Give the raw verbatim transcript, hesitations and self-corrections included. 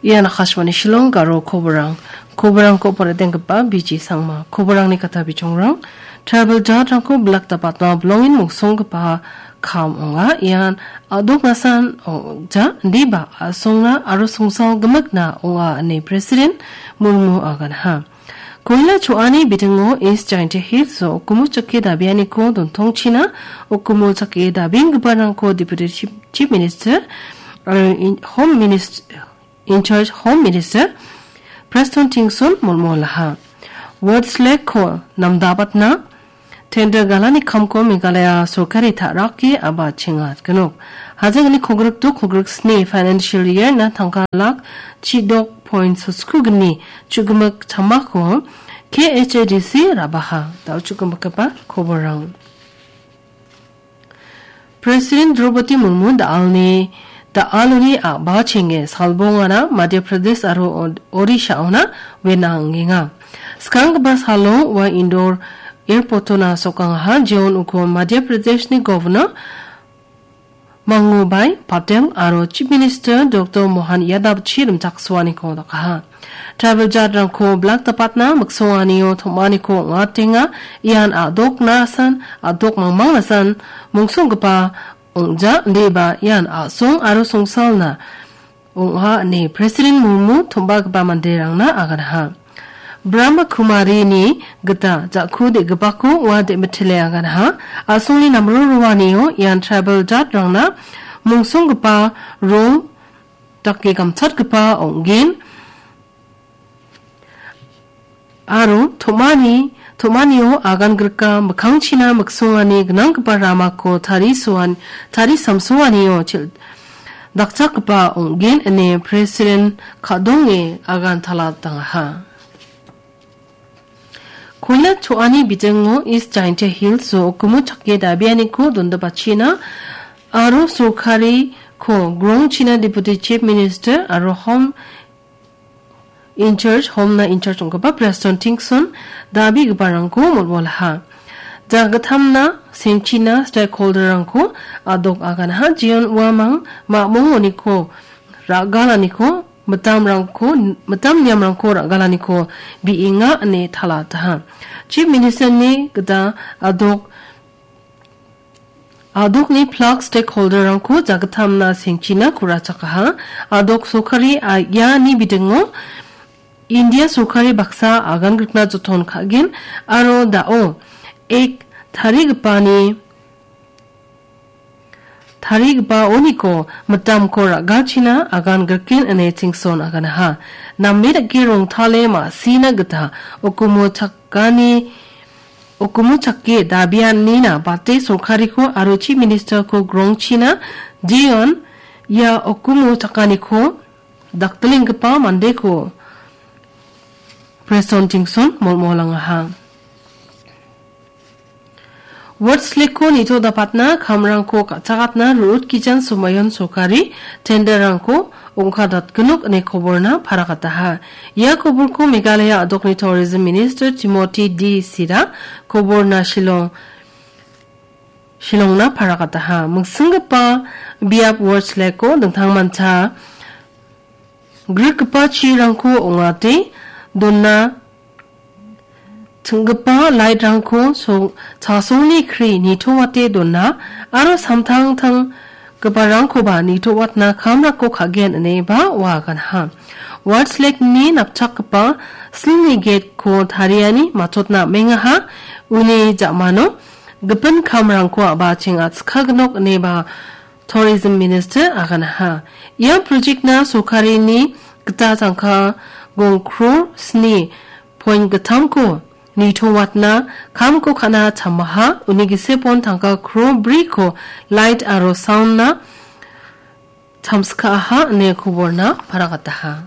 Ian Akashvani Shillong Garo koborang. Koborangko poretenggipa B G Sangma. Koborangni kata bichongrang. Tribal jatrangko bilak dapatna bilongin mongsonggipa kam ong·a. Ian a·doknasan ong·ja, indiba a·songna aro songsal gimikna ong·a, ine President Murmu aganha. Koila cho·ani bitingo East Jaintia Hills-o ukumo chake dabianiko dontongchina, ukumo chake dabienggiparangko Deputy Chief, Chief Minister, aro in-, Home Minist-, in charge Home Minister Prestone Tynsong molmolaha. Woods Lake-ko namdabatna tender galani kamko Meghalaya sorkari ta·rake a·bachenga gnok. Hajangni kogrikdo kogriksni financial year-na tangka lak chidok point sotskugni chugimik chamako K H A D C rabaha. Da·o chugimikgipa koborrang. President Draupadi Murmu da·alni, da·aloni a·bachenge salbongana Madhya Pradesh aro Od-, Odisha-ona wenangenga. Skanggipa salo ua Indore Airport-ona sokangaha, jeon uko Madhya Pradeshni Governor Mangubai Patel aro Chief Minister Doctor Mohan Yadav chi rimchaksoaniko dakaha. Tribal jatrangko bilak dapatna miksonganio tom·aniko ong·atenga. Ian a·doknasan, a·dok mangmangnasan mongsonggipa ong·ja, indiba ian a·song aro songsalna ong·a, ine President Murmu tom·bagipa manderangna aganha. Brahma Kumarini gita ja·ku de·gipako ua de·mitile aganha. A·songni namro roanio ian tribal jatrangna mongsonggipa rong dake gamchatgipa ong·gen. Aro tom·ani, tom·anio agangrika mikkangchina miksongani gnanggipa ramako tarisoan-, tarisamsoanio chil-, dakchakgipa ong·gen ine President Kadonge agantalatdangaha. Koila cho·ani bitingo East Jaintia Hills-o ukumo chake dabianiko dondipachina aro sorkariko grongchina Deputy Chief Minister aro Home in charge, Home-na in charge ong·gipa Prestone Tynsong dabigiparangko molmolaha. Jagittamna sengchina stakeholder-rangko a·dok aganha, jeon uamang ma·mongoniko ra·galaniko, mitamrangko, mitam niamrangko ra·galaniko bi·enga ine talataha. Chief Minister-ni gita a·dok A·dokni plak stakeholder-rangko jagittamna sengchina ku·rachakaha. A·dok sorkari a-, iani bidingo India sorkari baksa agangrikna joton ka·gen aro da·o ek tarigipani, tarigipaoniko mitamko ra·galchina agangriken ine Tynsong aganaha. Name dake rongtale ma·sina gita ukumo chakani Ukumo chake dabianina bate sorkariko aro Chief Minister-ko grongchina jeon ia ukumo chakaniko daktilenggipa mandeko Prestone Tynsong molmolangaha. Woods Lake-ko nitodapatna kamrangko ka·chakatna Ruth Kijan Somayon sorkari tender-rangko ong·kadatgenok ine koborna parakataha. Ia koborko Meghalaya a·dokni Tourism Minister Timothy D Sira koborna Shillong, Shillongna parakataha. Miksinggipa biap Woods Lake-ko dingtangmancha grikgipa chirangko ong·ate dona ching·gipa light-rangko so-, chasongni kri nitoate dona aro samtangtanggiparangkoba nitoatna kamrangko ka·gen ineba ua aganha. Woods Lake-ni napchakgipa silni gate-ko tariani matchotna am·engaha. Uni ja·mano gipin kamrangko a·bacheng a·chikagnok ineba Tourism Minister aganaha. Ia project-na sorkarini gita tangka gong crore sni point gittamko nitoatna kamko ka·na chamaha, uni gisepon tangka crore briko light aro sound-na chamskaaha ine koborna parakataha.